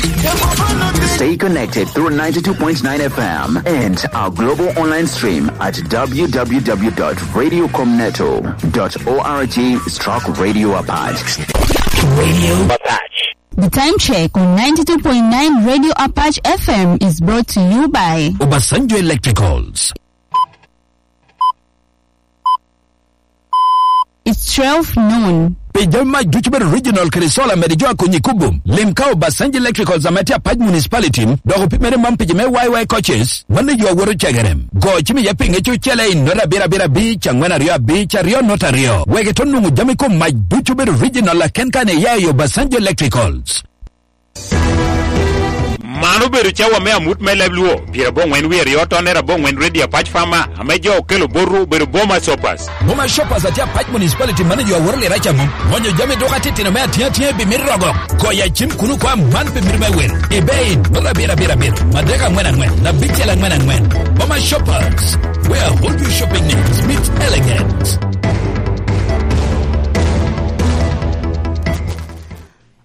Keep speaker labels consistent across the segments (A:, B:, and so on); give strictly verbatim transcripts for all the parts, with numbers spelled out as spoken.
A: Stay connected through ninety-two point nine F M and our global online stream at w w w dot radio comneto dot org stroke radio Apache.
B: Radio Apache.
C: The time check on ninety-two point nine Radio Apache F M is brought to you by
B: Obasanjo Electricals.
C: It's twelve noon.
B: Pejama Duchber Regional Krisola Medijoa Kunyikubu. Limkao Obasanjo Electricals Amatia Paj Municipality. Dogo Pimere Mampijime Y Y Coaches. Mane Yua Woro Chegerem. Go Chimi Yaping Echu Chele in Nora Bira Bira Beach and Wena Rio Beach Rio Nota Rio. Wegetonu Mujamiko Maj Duchber Regional Kenkane Yayo Obasanjo Electricals.
D: Mano bedo chawa me amut me leb luo. Piero abong'wen wi ariyo to ne rabong'wen Radio Apache Farmer. Ame jo okelo boru bedo Boma Shoppers.
B: Boma Shoppers atia Pach Municipality manager wa Worli Racha mum. Monyo jami doka titi na mea tia tia bi mirrogo. Koya chim kunu kwa man bi mirme wer. Ebei, nora bira bira bira. Madeka ngwena ngwen. Na bichela ngwena ngwen. Boma Shoppers, where all your shopping needs meet elegance.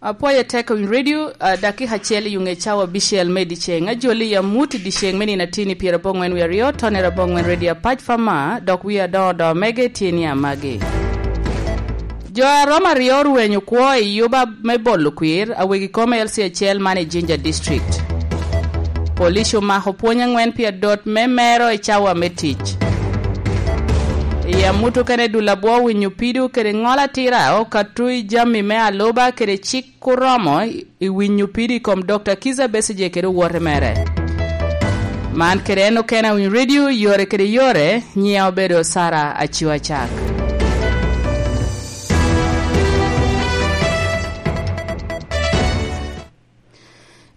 E: Apoya teko in radio uh, dakika achiel yunge chawa bishel medi cheng ajoli ya muti di cheng meni natini piero bongwen wi ariyo tone rabongwen radio Apache Farmer dok wi adodo mege tieni amage. Jo aroma riyo rwenyo kwo e yuba me bolo kwir awegi kome L C achiel mane Jinja District. Polisi omako puonj ang'wen pier dot me mero e chawa me tich. Ya mutu kene dula bwo winyo pidu kede ng'ola tira o katui jami me aloba kede chik kuromo i winyo pidu kom Doctor Kiza Besigye kede wuote mere. Man kede en okena win radio yore kede yore nyia obedo Sara Achiwa Chak.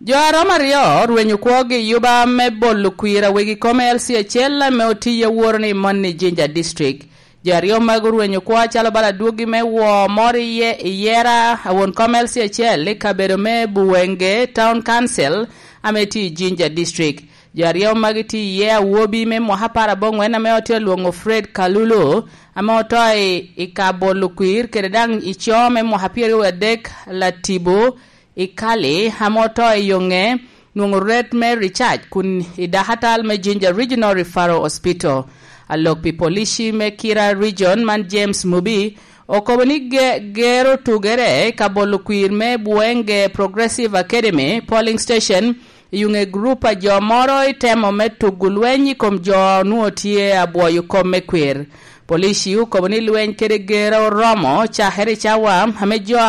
E: Jo aroma riyo rwenyo kwogi yuba me bolo kwira wegi kome L C achiel me otiye wuoro ni moni Jinja District. Jo ariyo mag rwenyo kwa chalo bala duogi me wo mori ye yera awon kome L C achiel e kabedo me Buwenge Town Council ameti Jinja District. Jo ariyo mag ti ye awuobi me mwahapara bong'wen ame otiyo luongo Fred Kalulu ame otoi ikabolo kwir kede dang icho me mwahapiero adek latibo ikali hamoto yonge nwongo ret me Richard kun idahatal me Jinja Regional Referral Hospital. Alok pi polishi me Kira Region man James Mubi okoboni ge, gero tugere kabolo kwir me Buwenge Progressive Academy polling station yunge grupa jomoro itemo me tugulwenyi kom jo nuotie abwoyo kom me kwir. Polisi ukoboni lweny kede gero romo chahere chawa ame jo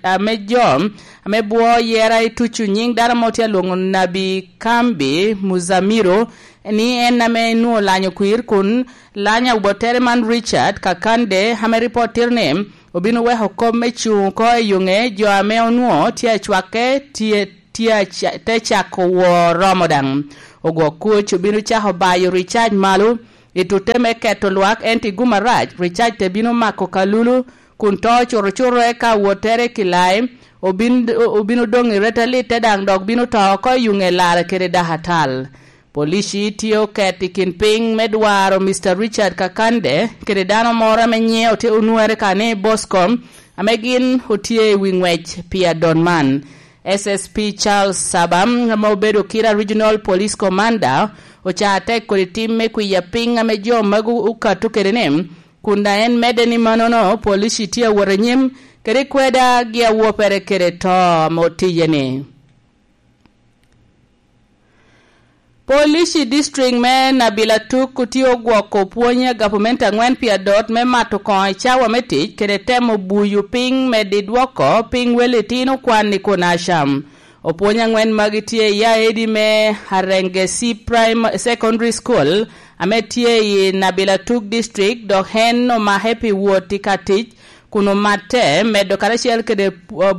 E: ame jo ame buo yera ituchu nying dara motia luongo Nabi Kambi Muzamiro ni en ame nuo lanyo kwir kun lanya ubotere man Richard Kakande ame reporter ne obino weho kom me chung ko yunge jo ame onuo tia chwake tie tia te chako wo romo dang ogwo kuch obino chaho bayo Richard malu ituteme keto lwak enti gumaraj Richard te bino mako kalulu kun to choro choro eka wotere kilai obin obino dong iretali te dang dok bino to ko yunge lar kere dahatal. Polisi tiyo keti kin ping medwaro Mister Richard Kakande kere dano moro me nyiewo te unuere kane Boscom amegin otie wingwech pia Donman. S S P Charles Sabam ma obedo Kira Regional Police Commander ochate kod tim me kwiya piny ame jo magu ukatu kerene kunda en mede ni manono polisi tiyo wuore nyim kere kweda gi awuopere kere to motijene. Polisi district me Nabila Tuk kutiyo gwoko puonye government ang'wen pia dot me mato kony chawa me tich kede temo buyu piny me didwoko piny wele tino kwan ni kunasham. Opuonyo ang'wen mag tie ya edi me Harengesi Prime Secondary School ame tie i Nabila Tuk district dok hen no ma happy wuoti katich kuno mate medo karachiel kede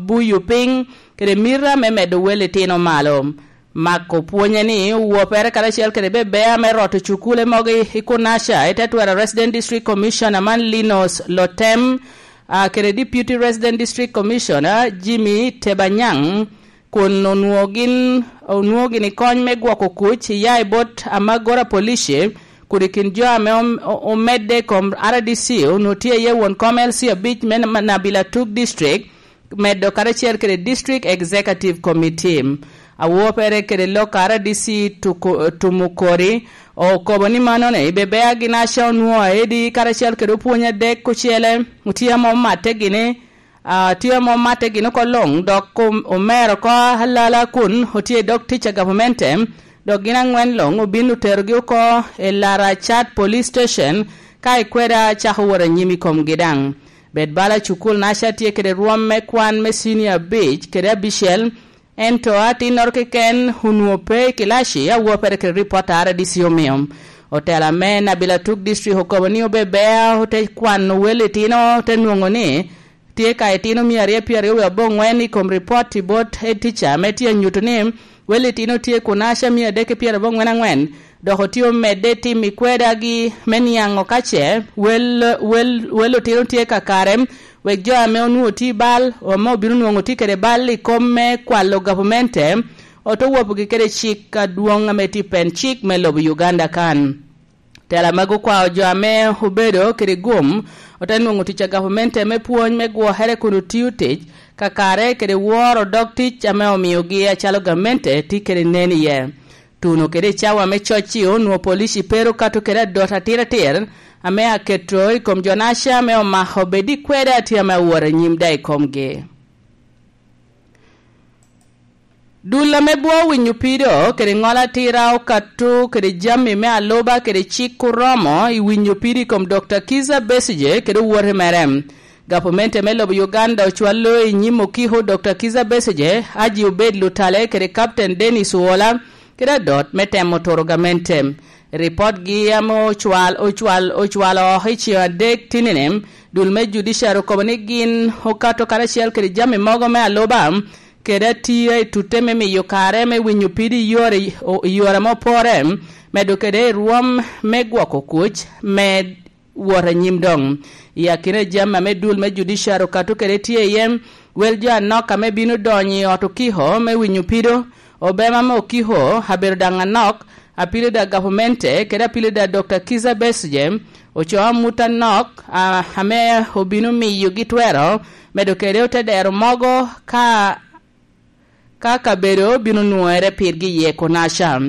E: buyu piny kede mira me medo wele tino malo. Mako puonye ni wuopere karachiel kede bebea me roto chukule mogi ikunasha itetwera Resident District Commissioner man Linus Lotem uh, kede Deputy Resident District Commissioner Jimmy Tebanyang kun onuogin onuogin ikony me gwoko kuch ya ibot amagora polisi kurikin jo ame omede kom R D C onutie ye won kom L C abich me Nabila Tuk district medo karacel kede District Executive Committee awo pere kede lok R D C tumukori okobo ni manone ibebea ginasha onwo edi karacel kede opwonya dek kucele utia mo mate gine Uh, tye mo mate gino ko long dok omero ko halala kun otie dok teacher government dok gin angwen long obin oterogi oko e Lara Chat Police Station ka ikweda chako woro nyimi kom gidang bed bala cukul nasha tye kede rwom me kwan me senior beach kede abicel ento atin nor keken hunwo pe kilashi awo pere kede reporter R D C omiyo otela me Nabila Tuk District okobo ni obebea ote kwan wele tino te nwongo ni tye ka itino mia ariyo piero ariyo abong'wen i kom ripot i bot head teacher me tye nyuto ni wele tino tye kunasha mia adek piero abong'wen ang'wen dok otiyo medde tim ikweda gi me niang'o kace wel wel wel otino tye kakare wek jo ame onwongo ti bal ome obino nwongo ti kede bal i kom me kwalo gavumente oto wopo gi kede cik aduong' ame ti pen cik me lobo Uganda kan tela mago kwao jo ame obedo kede gum ote nwongo tic a gavumente me pwony me gwohere kun otiyo tic kakare kede woro dog tic ame omiogi acalo gamente ti kede nen iye tuno kede cawa me coc-ci onwongo polici pero kato kede adot atir atir ame aketo i kom jonasha me omako bedi kwede atia me awuoro nyim da i komgi. Dula me bwo winyo pido kede ng'ol atira okatu kede jami me aloba kede cik kuromo i winyo pido i kom Doctor Kizza Besigye kede owuote merem. Gavumente me lobo Uganda ocwalo i nyim okiho Doctor Kizza Besigye aji obed lutale kede Captain Dennis Owola kede adot me temo toro gamente. Report gi ame ocwal ocwal ocwalo oko i ceng adek tinene dul me judiciary okobo ni gin okato karacel kede jami mogo me aloba kede atia i tute me miyo kare me winyo pido i yore i yore mopore medo kede i rwom me gwoko kuc me wot anyim dong i akine jami me dul me judiciary okato kede tye iye wel jo anok ame bino donyo i ot okiho me winyo pido obema me okiho abedo dang anok apilo da gavumente kede apilo da Doctor Kizza Besigye oco amut anok uh, ame obino miyo gitwero medo kede ote dero mogo ka ka kabedo bino nwere pirgi ye konasha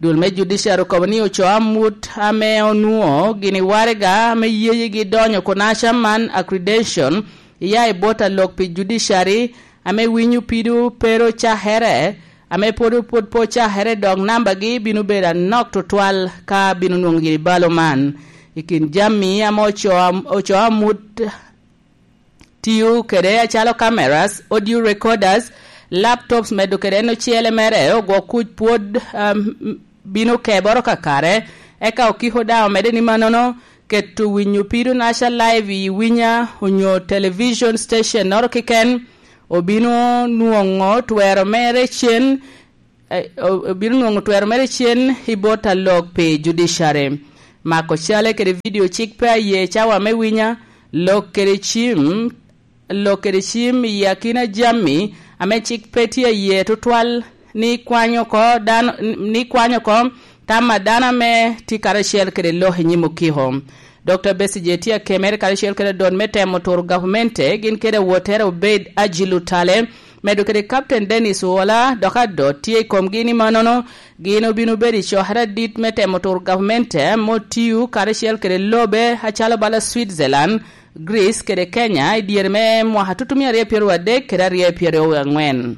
E: dul me judiciary okobo ni oco amut ame onwo gini warega ame yeye gi donyo konasha man accreditation iya i bot alok pi judiciary ame winyo pido pero chahere ame pod pod po chahere dok namba gi bino bedo anok tutwal ka bino nwongo gini balo man i kin jami ame oco oco amut tiyo kede acalo cameras audio recorders laptops medo kede no ciele mere ogwo kuc pwod um, bino keboro kakare eka okiho dawo mede ni manono keto winyo pido nasha live i winya onyo television station noro kiken obino nwongo twero mere cien eh, obino nwongo twero mere cien i bot alok pi judiciary mako cale kede video cik pe aye cawa me winya lok kede cim lok kede cim i akina jami ame cik pe tye iye tutwal ni kwanyo ko dano ni kwanyo ko tama dano me ti karacel kede lok i nyim okiho Doctor Besigye tye akemere karacel kede don me temo turo gavumente gin kede wotere obed aji lutale medo kede Captain Dennis Owola dok adot tye i komgi ni manono gin obino bedo i cokere adit me temo turo gavumente motiyo karacel kede lobe acalo bala Switzerland Greece kede Kenya i dyere me mwaka tutumia ariyo piero adek kede ariyo piero ang'wen.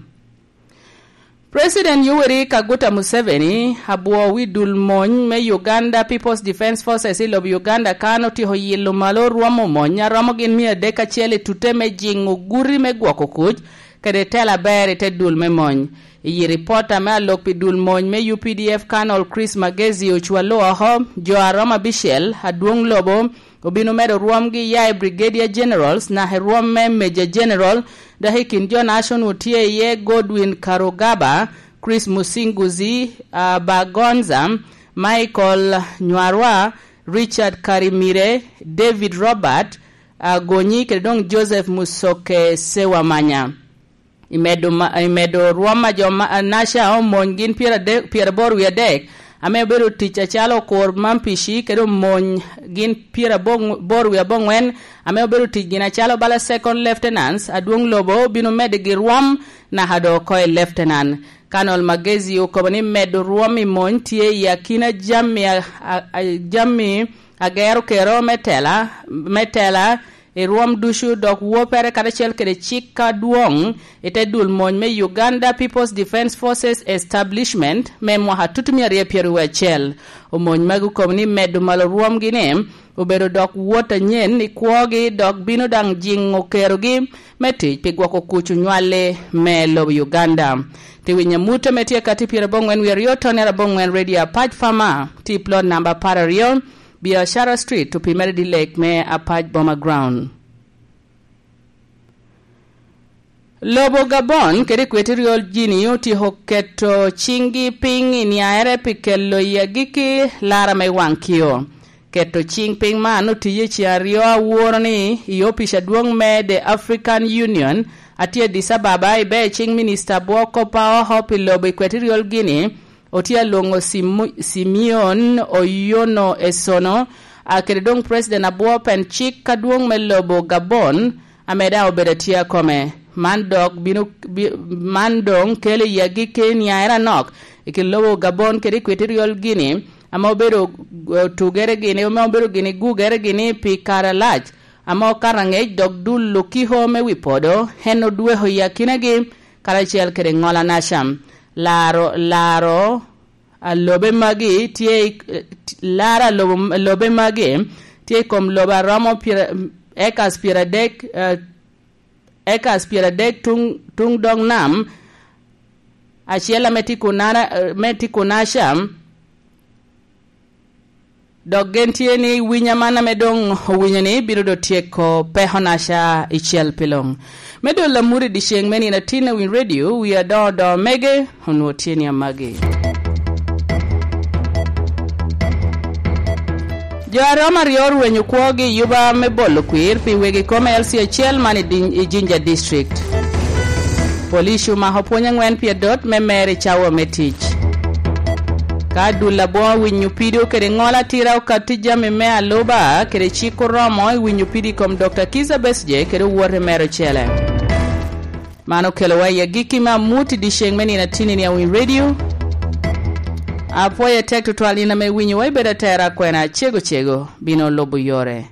E: President Yoweri Kaguta Museveni abwo wi dul mony me Uganda People's Defence Forces i lobo Uganda kan otieko yilo malo rwomo mony aromo gin mia adek achiel i tute me jing'o guri me gwoko kuc kede telo aber i te dul me mony. Iyi ripota me alok pi dul mony me U P D F Colonel Chris Magezi ocwalo oko jo aromo abicel adwong lobo obino medo rwomgi ya i Brigadier Generals na rwom me Major General dok i kin jo national tye iye Godwin Karugaba, Chris Musinguzi uh, Bagonza, Michael Nywarwa, Richard Karimire, David Robert uh, Gonyi kede dong Joseph Musoke Sewamanya. Imedo, ma, imedo rwom ma jo ma, nasha omony gin piero adek piero aboro wi adek Ame obedo tic acalo okor mampici kede omony gin pyera boro wiye abongwen ame obedo tic gin acalo bala second lieutenants adwong lobo bino medigi rwom naka do oko i lieutenant. Colonel Magezi okobo ni medo rwom i mony tye i akina jami, a, a, a, jami agero kero me tela, me tela i rwom ducu dok wopere karacel kede cik ka dwong ite dul mony me Uganda People's Defence Forces Establishment me mwaka tutumia aryo pyeri wiye acel. Omony magi okobo ni medo malo rwomgi ni obedo dok wot anyen i kwogi dok bino dang jingo kerogi me tic pi gwoko kuc onywale me lobo Uganda. Ti winyo mute me tye kati pyera abongwen wiye aryo tone abongwen Radio Apac Farmer ti plot number apar aryo Biashara Street to Pimere di Lake me Apac Boma Ground. Lobo Gabon kede Equatorial Guinea otieko keto cingi piny i niaere pi kelo i agikki lara me wang kio. Keto cing piny man otiye ci aryo awuoro ni i opic adwong me The African Union atye Addis Ababa ibe cing minista bwoko pa oko pi lobo Equatorial Guinea otie alwongo Simeon Oyono Esono kede dong president abwo pen cik kadwong me lobo Gabon ameda obedo atye akome. Man dok bino bi, man dong kelo i agikki niaere anok i kin lobo Gabon kede Equatorial Guinea ama obedo tugere gini ama obedo gini gugere gini pi kare lac ama okato angec dok dul lukiho me wi podo en odweho i akinagi karacel kede ngola naca laro laro alobe magi tye laro alobo lobe magi tye i kom lobo aromo pyera acres pyera adek uh, acres pyera adek tung, tung dog nam acel ame tye kunana me tye kunaca dok gen tye ni winya man ame dong owinyo ni bino do tyeko peko naca i cel pi long. Me do lamuri di ceng me nino atin win radio wiya do do mege onwo tye ni amagi. Jo aryo aryo orwenyo kwogi yuba me bolo kwir pi wegi kome L C acel man i Jinja District. Police omako pwony angwen pi adot me mer i cawa me tic. Ka dul labongo winyo pido kede ngola tira okati jami me aluba kede cik oromo i winyo pido i kom Doctor Kizza Besigye kede owuote mero cele. Mano okelo wa i agikki me amuti di ceng me nino atini ni awin radio. Apwoyo tek tutwal nina me winyo wa ibedo atera kwena cego cego bino lubo yore.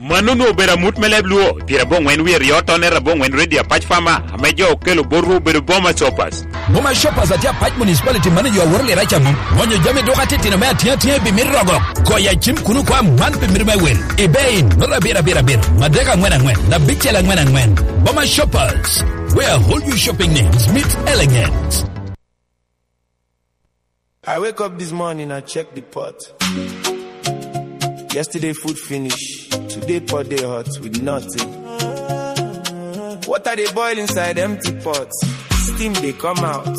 D: Mano nu obedo amut me leb luo pyera abongwen wiye aryo tone abongwen Radio Apac Farmer ame jo okelo borwu obedo Boma Shoppers.
B: Boma Shoppers atye Apac Municipality manager awuoro lira camo monyo jami duka titino me atinga tinga bi mir rogo goya cim kunu kwa man pi mir me wel ibe in nora abiro abiro abiro madek angwen angwen abicel angwen angwen. Boma Shoppers, where all your shopping needs meet elegance.
F: I wake up this morning, I check the pot. Yesterday food finish, today pot they hot with nothing. Water they boil inside empty pots, steam they come out.